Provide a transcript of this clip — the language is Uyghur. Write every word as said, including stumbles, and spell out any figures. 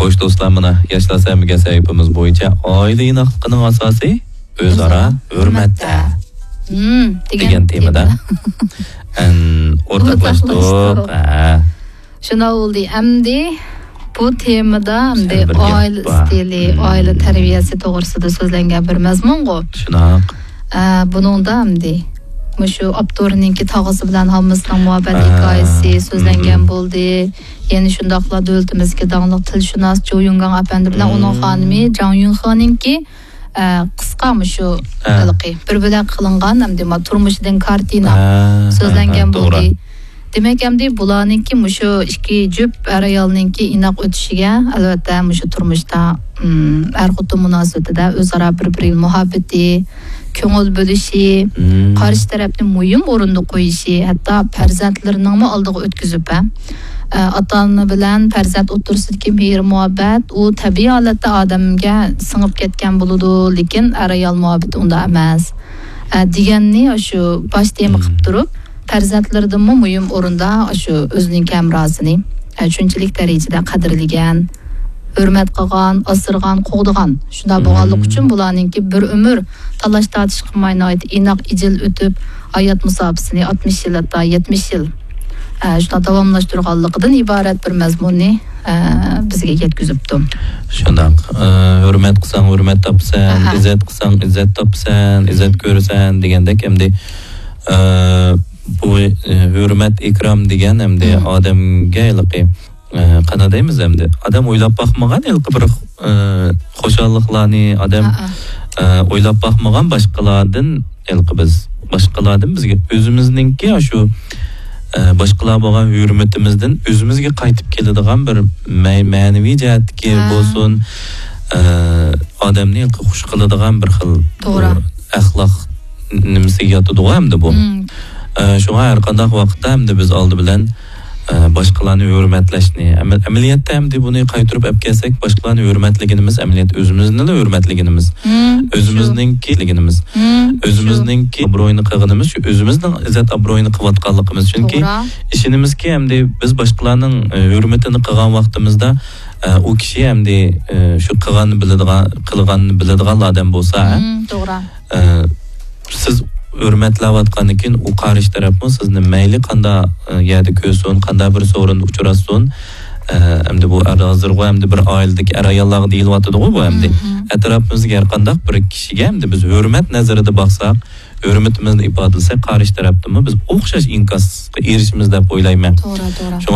خوش دوستلار، مانا ياشلار سەمىگە سەھىپىمىز بويىچە ئائىلە ئىناقلىقىنىڭ ئاساسى ئۆزئارا ھۆرمەتتە. ھۆرمەتتە. ھىم، دېگەن دېگەن تېمىدا. تېمىدا. ئەن ئورتاقلاشتۇق. ئورتاقلاشتۇق. ھە. شۇنداق بولدى. ئەمدى بۇ تېمىدا ئەمدى سەن بىر گەپ ئائىلە بار. ئىستىلى، ھىم. ئائىلە تەربىيەسى توغرىسىدا سۆزلەنگەن بىر مەزمۇنغۇ. شۇنداق. ئە، بۇنىڭدا ئەمدى مۇشۇ ئاپتورنىڭكى تاغىسى بىلەن ھاممىسىنىڭ مۇھەببەت ھە. ھېكايىسى سۆزلەنگەن ھىم. بولدى. يەنە شۇنداقلا دۆلىتىمىزدىكى داڭلىق تىلشۇناس جو يۇڭگاڭ ئەپەندى بىلەن ھىم. ئۇنىڭ خانىمى جاڭ يۈنخېنىڭكى، ئە، قىسقا مۇشۇ ھە. ھېلىقى بىر بۆلەك قىلىنغان ئەمدى ما تۇرمۇشىدىن كارتىنا ھە، ھە، سۆزلەنگەن ھە، توغرا. بولدى. دېمەك، ئەمدى بۇلارنىڭكى مۇشۇ ئىككى جۈپ ئەر-ئايالنىڭكى ئىناق ئۆتۈشىگە، ئەلۋەتتە، مۇشۇ تۇرمۇشتا، ئىم، ئەر-خوتۇن مۇناسىۋىتىدە ئۆزئارا بىر-بىرىگە مۇھەببىتى، كۆڭۈل بۆلۈشى، مم. قارشى تەرەپنى مۇھىم ئورۇندا قويۇشى، ھەتتا پەرزەنتلىرىنىڭمۇ ئالدىغا ئۆتكۈزۈپ، ھە، ئە، ئاتا-ئانا بىلەن پەرزەنت ئوتتۇرىسىدىكى مېھىر-مۇھەببەت، ئۇ تەبىئىي ھالەتتە ئادەمگە سىڭىپ كەتكەن بولىدۇ، لېكىن ئەر-ئايال مۇھەببىتى ئۇنداق ئەمەس، ئە، دېگەننى شۇ باش تېما مم. قىلىپ تۇرۇپ، پەرزەنتلىرىدىنمۇ مۇھىم ئورۇندا شۇ ئۆزىنىڭ ھەمراھىسىنى، ئە، شۇنچىلىك دەرىجىدە قەدىرلىگەن، ھۆرمەت قىلغان، ئاسرىغان، قوغدىغان. شۇنداق بولغانلىقى ئۈچۈن مم. بۇلارنىڭكى بىر ئۆمۈر تالاش-تارتىش قىلماي ناھايىتى ئىناق، ئىجىل ئۆتۈپ، ھايات مۇساپىسىنى ئاتمىش يىل، ھەتتا يەتمىش يىل، ئە، شۇنداق داۋاملاشتۇرغانلىقىدىن ئىبارەت بىر مەزمۇننى، ئە، بىزگە يەتكۈزۈپتۇ. شۇنداق. ئە، ھۆرمەت قىلساڭ ھۆرمەت تاپىسەن، ئەھە. ئىززەت قىلساڭ ئىززەت تاپىسەن، ئىززەت كۆرىسەن دېگەندەك ئەمدى، ئە، بۇ، ئە، ھۆرمەت، ئىكرام دېگەن ئەمدى مم. ئادەمگە ھېلىقى، ئە، قانداق دەيمىز ئەمدى؟ ئادەم ئويلاپ باقمىغان ھېلىقى بىر، ئە، خۇشاللىقلارنى، ئادەم، ھە، ھە. ئە، ئويلاپ باقمىغان باشقىلاردىن ھېلىقى بىز، باشقىلاردىن بىزگە ئۆزىمىزنىڭكى شۇ، ئە، باشقىلار بولغان ھۆرمىتىمىزدىن ئۆزىمىزگە قايتىپ كېلىدىغان بىر مە-، مەنىۋى جەھەتتىكى ھە. بولسۇن، ئە، ئادەمنى ھېلىقى خۇش قىلىدىغان بىر خىل توغرا. بۇ ئەخلاق نېمىسىگە ياتىدىغۇ ئەمدى بۇ. مم. ئە، شۇڭا ھەر قانداق ۋاقىتتا ئەمدى بىز ئالدى بىلەن، ئە، باشقىلارنى ھۆرمەتلەشنى، ئەمە-، ئەمەلىيەتتە ئەمدى بۇنى قايتۇرۇپ ئەپ كەلسەك، باشقىلارنى ھۆرمەتلىگىنىمىز ئەمەلىيەتتە ئۆزىمىزنىلا ھۆرمەتلىگىنىمىز. مم، شۇ. ئۆزىمىزنىڭكى، مم، شۇ. ئۆزىمىزنىڭكى ئابرۇيىنى قىلغىنىمىز، شۇ ئۆزىمىزنىڭ ئىززەت ئابرۇيىنى قىلىۋاتقانلىقىمىز. چۈنكى توغرا. ئىشىنىمىزكى، ئەمدى بىز باشقىلارنىڭ، ئە، ھۆرمىتىنى قىلغان ۋاقتىمىزدا، ئە، ئۇ كىشى ئەمدى، ئە، شۇ قىلغاننى بىلىدىغان، قىلغاننى بىلىدىغانلا ئادەم بولسا، ھە؟ مم، توغرا. ئە، سىز ھۆرمەتلەۋاتقاندىن كېيىن ئۇ قارشى تەرەپمۇ سىزنى مەيلى قانداق، ئە، يەردە كۆرسۇن، قانداق بىر سورۇندا ئۇچراشسۇن، ئە، ئەمدى بۇ ئەر ھازىرغۇ ئەمدى بىر ئائىلىدىكى ئەر-ئاياللارغا دېيىلىۋاتىدىغۇ بۇ ئەمدى. مم، مم. ئەتراپىمىزدىكى ھەر قانداق بىر كىشىگە ئەمدى بىز ھۆرمەت نەزىرىدە باقساق، ھۆرمىتىمىزنى ئىپادىلىسەك، قارشى تەرەپتىنمۇ بىز ئوخشاش ئىنكاسقا ئېرىشىمىز دەپ ئويلايمەن. توغرا، توغرا. شۇڭا